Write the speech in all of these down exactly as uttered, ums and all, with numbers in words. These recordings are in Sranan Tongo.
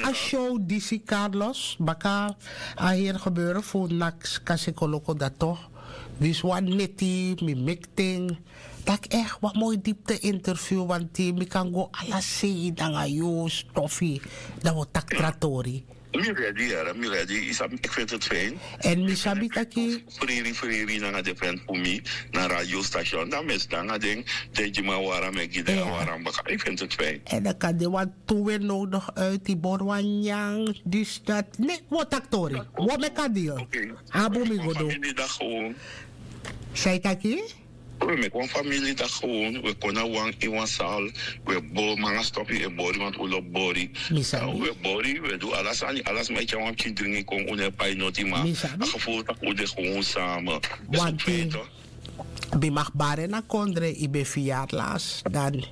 a show disi, Carlos, baka a heri gebeuren fu naks kasi kon loko dato. Wisi wan neti mi meki ten. Taki echt wan moi dipte interview, wanti mi kan go ala sei nanga yu stofi. Dan wi o taki tra tori. Mi redi yara, mi redi. Yu sabi, ik vind het fijn. En mi sabi taki friri friri nanga den fen fu mi na radiostation, dan mi e sidon nanga den. Den gi mi a wara, mi e gi den a wara baka. Ik vind het fijn. En dan kan de wan tu we nodig uit die bori wan nyan, dus dat. Nee, wi o taki tori. Wi o meki a deal. Abu mi go du. Sai taki? We meki wan famili taki gewoon, we kon na wan in wan sal. We bo manga stofi e bori, want un lobi bori. We bori, we du ala sani, ala sma e tyari wan pikin dringi kon, un no e pai noti, ma a gevoel taki un de gewoon samen. Wanti, mi mag bari na kondre, i ben vier jaar las, dan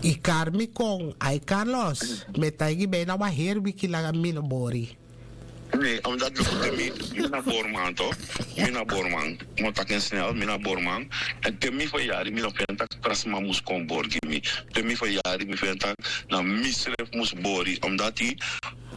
i kari mi kon, ai Carlos, mi e taigi bijna wan heri wiki langa mi no bori. Nee, omdat luku te mi, mi na borman toch. Mi na borman. Mi o taki en snel, mi na borman. En te mi verjari, mi no feni taki tra sma mus kon bori gi mi. Te mi verjari, mi feni taki na mi srefi mus bori. Omdat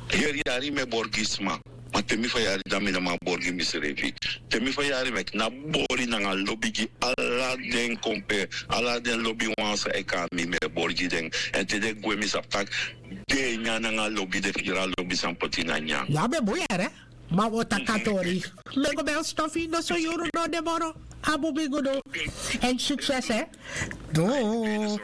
heri yari mi e bori gi sma. Ma te mi verjari, dan mi no man bori gi mi srefi. Te mi verjari, mi e knapu bori nanga lobi gi ala den kompe, ala den lobiwan san e kon na mi, mi e bori gi den. En te den gwe, mi sabi taki den e nyan nanga lobi, den firi a lobi san poti na nyan. Ya ben bun yere. Ma wi o taki a tori. Mi e go bel stofi, no so yuru no de moro. Abu mi go du. En succes, hè. Doei.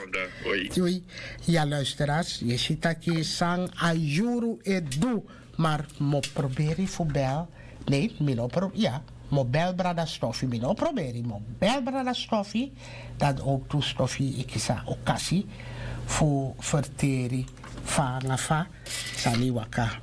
Doei. Ya, luisteraars, yu si taki san a yuru e du. Maar mi o proberi fu bel. Nee, mi no pro-, ya, mi o bel brada Stofi, mi no proberi, mi o bel brada Stofi. Dan ook tu Stofi e kisi a okasi fu ferteri fa nanga fa sani waka.